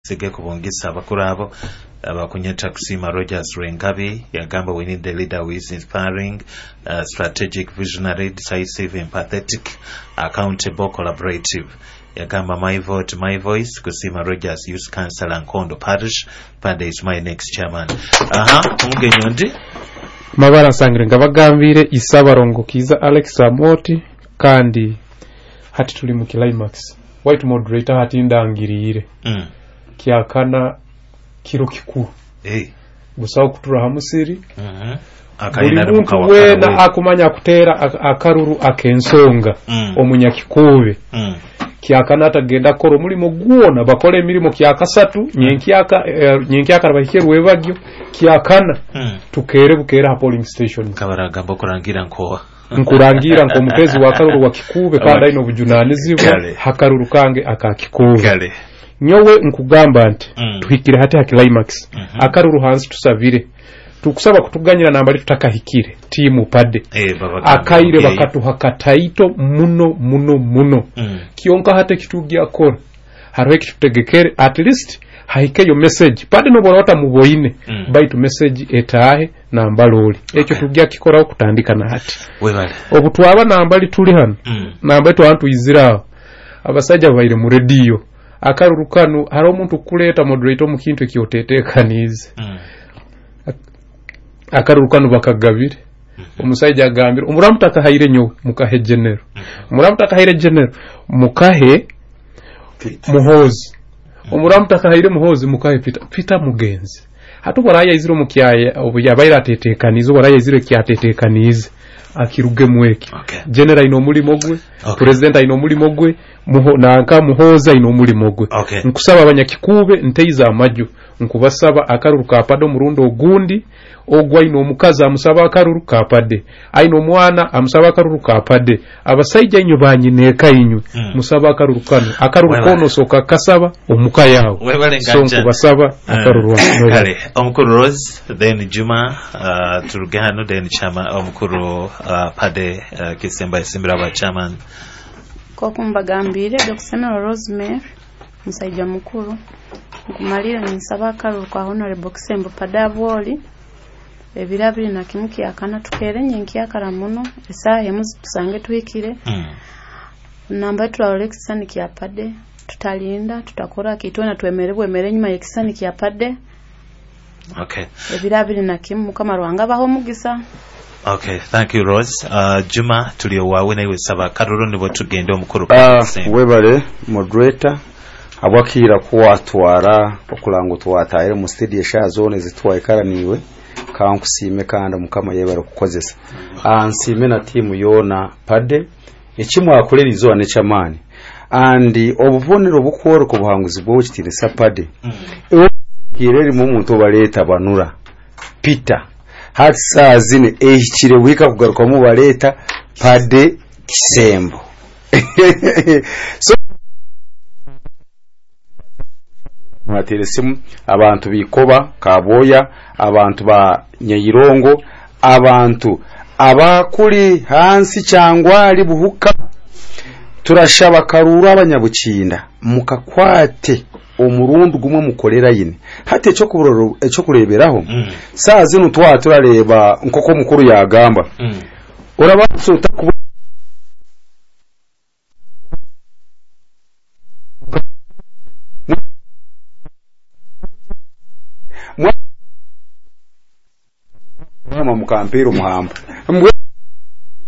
Sige kubongisa abakuru abo abakunyeta Kusima Rogers Rwengabi yagamba we need the leader who is inspiring, strategic, visionary, decisive, empathetic, accountable, collaborative. Yagamba my vote, my voice, Kusima Rogers Youth Councillor, Nkondo Parish. Pade is my next chairman. Aha, omugenyi ondi. Mabara nsangire nga bagambire Isabarongo Kiza Alex Amoti, kandi hati tuli mu climax. White moderator hati ndangiriire. Kyakana kiro kikuru. Hey. Busaho kutura ha musiri. Buli Akaina muntu mukawa weena karawe. akumanya akuteera akaruru ak'ensonga omunyakikuube. Kyakana atagenda kukora omulimo gwona, bakora emirimo kyakasatu, nyenkyaka bahike rwebagyo kyakana. Tukere bukera ha polling station. Kabaragamba okurangira nkowa. Nkurangira nk'omutezi wa karuru wa Kikuube kandi aine obujunanizibwa Kale. hakaruru kange aka Kikuube. Kale. Nyowe nkugamba nti tuhikire hati ha climax. Akaruru hansi tusabire. Tukusaba kutuganyira nambali tutakahikire timu pade. Baba akaire Gambe. bakatuha kataito muno muno muno. Kyonka hate kitujja kora hariho ekitutegekere, at least haikeyo message pade nobora watamuboine. Baitu message etaahe nambaloli ekyo. Tujja kikoraho kutandika na hati. Webale. Obu twaba nambali tuli hano, nambali twaba tuyizire aho abasajja babaire mu rediyo akaruru kanu hariho omuntu kukuleeta moderator omu kintu ekyotetekaniize. Akaruru kanu bakagabire. Omusaija agambire omuramu takahaire nyowe mukahe genero, omuramu takahaire genero mukahe Muhozi, omuramu takahaire Muhozi mukahe Peter. Peter mugenzi hati obwo arayaizire omu kyaya obu yabaire atetekaniize, obwo arayaizire ekyatetekaniize akirugemu eki. General aine omulimo gwe. President aine omulimo gwe, nanka Muhozi aine omulimo gwe. Nkusaba abanyakikuube nteize amaju, nkubasaba akaruru ka pade omurundi ogundi. Ogwo aine omukazi amusaba akaruru ka pade, aine omwana amusaba akaruru ka pade, abasaija inywe banyineeka inywe musaba akaruru kano, akaruru Webale. kono osoka kasaba omuka yawe. Webale So nganja. nkubasaba akaruru ako. Kale omukuru Rose, then Juma, turuge hano, then chama omukuru Pade Kisemba Isimbira aba chairman. Koku mbagambire Dr. Rosemary musaija mukuru nkumalire ninsaba akaruru kwa Honorable Kisembo Padabwoli ebiro 21 kyakana tukere nyenkyakara muno esaaha emu tusange tuhikire. Namba turarora ekisisani kya Pade, tutalinda tutakora kitwena twemere bwemere enyuma y'ekisisani kya Pade. Ebiro 21 Mukama Ruhanga abaho omugisa. Okay, thank you Rose. Juma tuli wawe nawe saba karuru nibo tugende omukuru Kisembo. Webale moderator abwakira kuwatwara okulanga twatayire mu studio sha zone zitwayikaraniwe kankusime kandi Mukama yebale kukozesa. Nsime na timu yona pade ekimwakorera izoba nekyamaani andi obubonero bukworoka obuhanguzi bw'okitinisa pade kirerimu omuntu obareta banura Peter hati saa zine ehikire wika kugarukamu bareta Pade Kisembo. So mwatere simu abantu bikoba Kaboya, abantu ba Nyairongo, abantu abakuri hansi cyangwa buhuka, turashaba karuru abanyabukinda mukakwate omurundi gumwe mukorera yine hati ekyo ekyo kureberaho. Saa zino twa turareba nkoko mukuru yagamba urabatse utakuba mama mukampira omuhamba.